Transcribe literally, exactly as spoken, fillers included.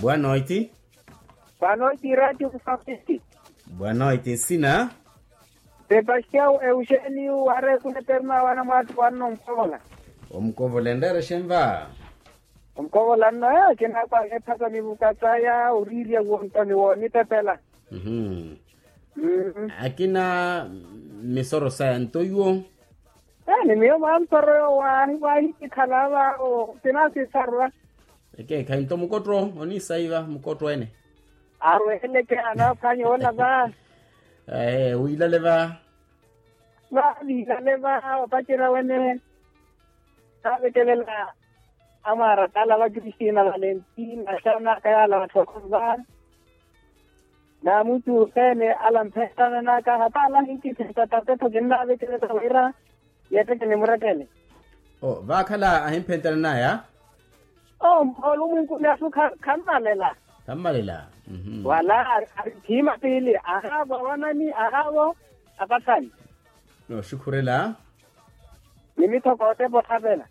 Boa noite. Boa noite, Rádio Moçambique. Boa noite, nsina? Sebastião Eugênio, wareku neperma wana mwattu wanno mpovola. Omukovola enreera xenva? Omukovola nno, eh, kinakwaka ephasa nivuka saya orirya wontoni wonitepela. Mhm. Mm. Akina misoro saya nto iwo? Eh, ni miyo mwa misoro yo wahi wahi kikhala va o kinasisarwa. Eke khayi nto mukotto onisaiva mukotto ene. Arweleke anaphwanya ola va. Eh, wilale va. Vavilale va opacerya wene. Navekelela amwarakala va kristina valentina xanaka yala vathokho va. Na mutu ene ala mphentananaka hata ala hinkiphinta tatetho kinnavekelela wira. Yeteke ni murekele. O vakhala ahimphentananaya. O mpholo mwinkuni asu khammalela. Khammalela. Wala ari phima pili ahavo awanani ahavo apathani. Noxukhurela. Ni mithokote pothavela.